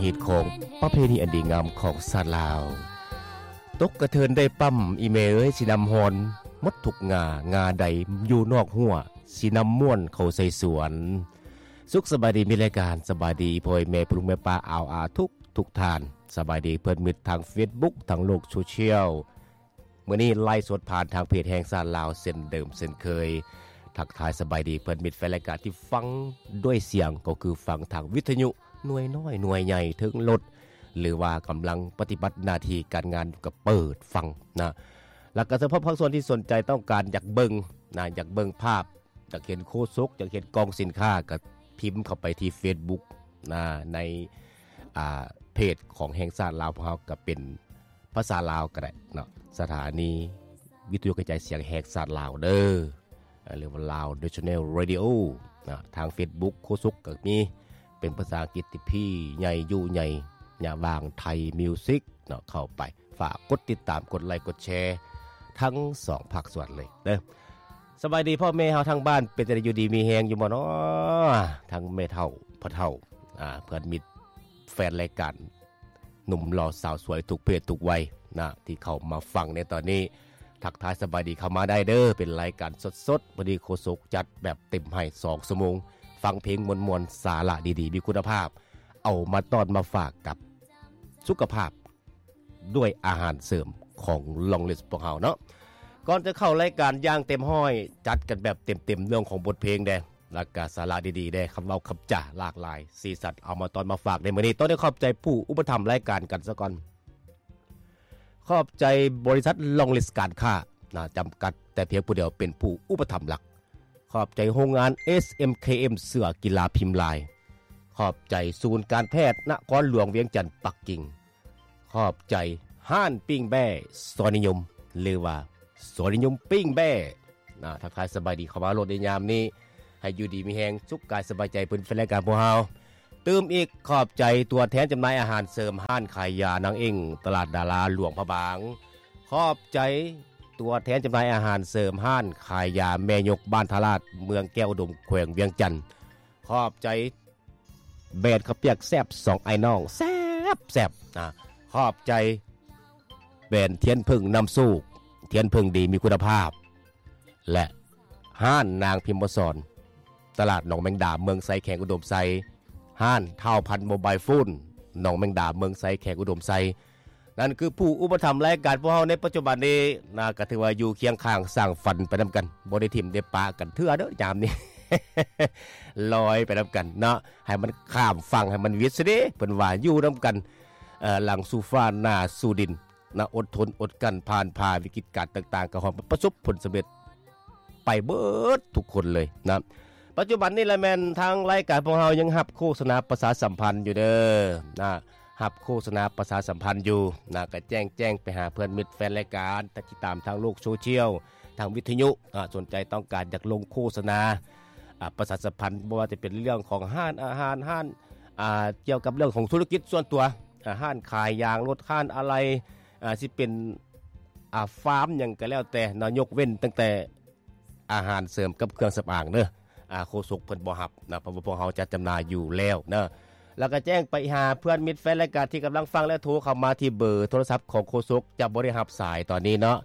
ຮີດຄອງປະເພນີອັນດີງາມຂອງຊາດລາວ. ຕົກກະເທີນໄດ້ປ້ຳ ອີ່ແມ່ເອີຍ ຊິນຳຮອນໝົດທຸກງ່າ, ງ່າໃດຢູ່ນອກຮົ້ວ ຊິນຳມ່ວນເຂົ້າໃສ່ສວນ. ສຸກສະບາຍດີ ມີລາຍການ. ສະບາຍດີພໍ່ແມ່ ພໍ່ລຸງແມ່ປ້າ ອາວອາ ທຸກ ທຸກທ່ານ. ສະບາຍດີເພື່ອນມິດທາງເຟສບຸກ ທາງໂລກໂຊຊຽວ. ມື້ນີ້ໄລຟ໌ສົດຜ່ານທາງເພຈແຫ່ງຊາດລາວເຊັ່ນເດີມເຊັ່ນເຄີຍ. ທັກທາຍສະບາຍດີເພື່ອນມິດແຟນລາຍການທີ່ຟັງດ້ວຍສຽງ ກໍຄືຟັງທາງວິທະຍຸໜ່ວຍນ້ອຍໜ່ວຍໃຫຍ່ເທິງລົດ ຫຼືວ່າກຳລັງປະຕິບັດໜ້າທີ່ການງານຢູ່ ກໍເປີດຟັງນະ. ແລ້ວກໍສະເພາະພາກສ່ວນທີ່ສົນໃຈຕ້ອງການຢາກເບິ່ງນະ, ຢາກເບິ່ງພາບ ຢາກເຫັນໂຄສົກ ຢາກເຫັນກອງສິນຄ້າ ກໍພິມເຂົ້າໄປທີ່ເຟສບຸກນະ ໃນ ອ່າ ເພຈຂອງແຫ່ງຊາດລາວພວກເຮົາ ກໍເປັນພາສາລາວກໍໄດ້ເນາະ, ສະຖານີວິທະຍຸກະຈາຍສຽງແຫ່ງຊາດລາວເດີ ເອີ ຫຼືວ່າ Lao National Radio ນະ. ທາງເຟສບຸກໂຄສົກກໍມີ ເປັນພາສາອັງກິດທີ່ພີໃຫຍ່ ຢູໃຫຍ່ ຍະຫວ່າງໄທມິວສິກເນາະ. ເຂົ້າໄປ ຝາກກົດຕິດຕາມ ກົດໄລ ກົດແຊ ທັງສອງພາກສ່ວນເລີຍເດີ. ສະບາຍດີພໍ່ແມ່ເຮົາທາງບ້ານ ເປັນຈັ່ງໃດ ຢູ່ດີມີແຮງຢູ່ບໍ່ນໍ? ທັງແມ່ເຖົ້າ ພໍ່ເຖົ້າ ອ່າ ເພື່ອນມິດແຟນລາຍການ ໜຸ່ມຫຼໍ່ສາວສວຍ ທຸກເພດທຸກໄວນະ ທີ່ເຂົ້າມາຟັງໃນຕອນນີ້ ທັກທາຍສະບາຍດີເຂົ້າມາໄດ້ເດີ. ເປັນລາຍການສົດໆ ພໍດີໂຄສົກຈັດແບບເຕັມໃຫ້ສອງຊົ່ວໂມງ ຟັງເພງມ່ວນໆ ສາລະດີໆ ມີຄຸນນະພາບ ເອົາມາຕ້ອນມາຝາກກັບສຸຂະພາບ ດ້ວຍອາຫານເສີມຂອງ Long List ພວກເຮົາເນາະ. ກ່ອນຈະເຂົ້າລາຍການຢ່າງເຕັມຮ້ອຍ ຈັດກັນແບບເຕັມໆ ເລື່ອງຂອງບົດເພງແດ່ ແລ້ວກະສາລະດີໆແດ່ ຄຳເວົ້າຄຳຈາຫຼາກຫຼາຍສີສັນ ເອົາມາຕ້ອນມາຝາກໃນມື້ນີ້. ຕ້ອງໄດ້ຂອບໃຈຜູ້ອຸປະຖຳລາຍການກັນສາກ່ອນ. ຂອບໃຈບໍລິສັດ Long List ການຄ້ານະ ຈຳກັດ ແຕ່ພຽງຜູ້ດຽວເປັນຜູ້ອຸປະຖຳຫຼັກ. ຂອບໃຈໂຮງງານ ເອສເອັມເຄເອັມ ເສື້ອກິລາພິມລາຍ. ຂອບໃຈສູນການແພດນະຄອນຫຼວງວຽງຈັນ ປັກກິ່ງ. ຂອບໃຈຮ້ານປີ້ງແບ້ ຊອຍນິຍົມ ຫຼືວ່າ ຊອຍນິຍົມປີ້ງແບ້ນະ. ທັກທາຍສະບາຍດີເຂົ້າມາໂລດໃນຍາມນີ້ ໃຫ້ຢູ່ດີມີແຮງ ສຸກກາຍສະບາຍໃຈ ເພິ່ນແຟນລາຍການພວກເຮົາ. ຕື່ມອີກ ຂອບໃຈຕົວແທນຈຳໜ່າຍອາຫານເສີມ ຮ້ານຂາຍຢານາງເອັ້ງ ຕະຫຼາດດາລາ ຫຼວງພະບາງ. ຂອບໃຈຕົວແທນຈຳໜ່າຍອາຫານເສີມ ຮ້ານຂາຍຢາແມ່ຍົກ ບ້ານທ່າລາດ ເມືອງແກ້ວອຸດົມ ແຂວງວຽງຈັນ. ຂອບໃຈແບຣນເຂົ້າປຽກແຊບ ສອງອ້າຍນ້ອງ ແຊບໆນະ. ຂອບໃຈແບຣນທຽນເຜິ້ງນຳໂຊກ ທຽນເຜິ້ງດີມີຄຸນນະພາບ ແລະ ຮ້ານນາງພິມມະສອນ ຕະຫຼາດໜອງແມງດາ ເມືອງໄຊ ແຂວງອຸດົມໄຊ, ຮ້ານທ້າວພັນໂມບາຍໂຟນ ໜອງແມງດາ ເມືອງໄຊ ແຂວງອຸດົມໄຊ. ນັ້ນຄືຜູ້ອຸປະຖຳລາຍການພວກເຮົາໃນປັດຈຸບັນນີ້ນະ, ກໍຖືວ່າຢູ່ຄຽງຂ້າງສ້າງຝັນໄປນຳກັນ, ບໍ່ໄດ້ຖິ້ມໄດ້ປະກັນເທື່ອເດີຍາມນີ້, ລອຍໄປນຳກັນເນາະ, ໃຫ້ມັນຂ້າມຝັ່ງ ໃຫ້ມັນວິດຊະເດ, ເພິ່ນວ່າຢູ່ນຳກັນ ເອີ ຫຼັງສູ່ຟ້າໜ້າສູ່ດິນ. ນະ ອົດທົນອົດກັ້ນຜ່ານຜ່າວິກິດການຕ່າງໆ ກໍຮອດມາປະສົບຜົນສຳເລັດໄປເບິດທຸກຄົນເລີຍນະ. ປັດຈຸບັນນີ້ລະແມ່ນທາງລາຍການພວກເຮົາຍັງຮັບໂຄສະນາປະຊາສຳພັນຢູ່ເດີນະ, ຮັບໂຄສະນາປະຊາສຳພັນຢູ່ນະ, ກໍແຈ້ງ ແຈ້ງໄປຫາເພື່ອນມິດແຟນລາຍການທີ່ຕິດຕາມທາງໂລກໂຊຊຽວ, ທາງວິທະຍຸນະ, ສົນໃຈຕ້ອງການຢາກລົງໂຄສະນາ ອາ ປະຊາສຳພັນ ບໍ່ວ່າຈະເປັນເລື່ອງຂອງຮ້ານອາຫານ, ຮ້ານ ອາ ກ່ຽວກັບເລື່ອງຂອງທຸລະກິດສ່ວນຕົວ, ອາ ຮ້ານຂາຍຢາງລົດ, ຮ້ານອາໄຫຼ່, ອາ ຊິເປັນ ອາ ຟາມຫຍັງກໍແລ້ວແຕ່ເນາະ, ຍົກເວັ້ນຕັ້ງແຕ່ອາຫານເສີມກັບເຄື່ອງສຳອາງເດີ, ອາ ໂຄສົກເພິ່ນບໍ່ຮັບນະ, ເພາະວ່າພວກເຮົາຈັດຈຳໜ່າຍຢູ່ແລ້ວເນາະ. ແລ້ວກໍແຈ້ງໄປຫາເພື່ອນມິດແຟນລາຍການທີ່ກຳລັງຟັງ ແລະ ໂທເຂົ້າມາທີ່ເບີໂທລະສັບຂອງໂຄສົກ, ຈະບໍ່ໄດ້ຮັບສາຍຕອນນີ້ເນາະ,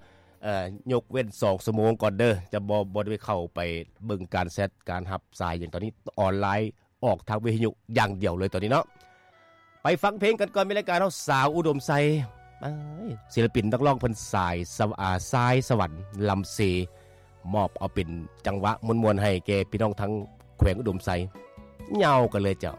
ເອີ ຍົກເວັ້ນສອງຊົ່ວໂມງກ່ອນເດີ, ຈະບໍ່ ບໍ່ໄດ້ເຂົ້າໄປເບິ່ງການແຊັດ ການຮັບສາຍຫຍັງ, ຕອນນີ້ອອນລາຍ ອອກທາງວິທະຍຸຢ່າງດຽວເລີຍຕອນນີ້ເນາະ. ໄປຟັງເພງກັນກ່ອນ, ມີລາຍການເຮົາ ສາວອຸດົມໄຊ, ເອີຍ ສິລະປິນນັກຮ້ອງເພິ່ນ ສາຍສະ ອາ ສາຍສະຫວັນ ລຳເຊ ມອບເອົາເປັນຈັງຫວະມ່ວນໆໃຫ້ແກ່ພີ່ນ້ອງທາງແຂວງອຸດົມໄຊ. ຍາວກັນເລີຍເຈົ້າ.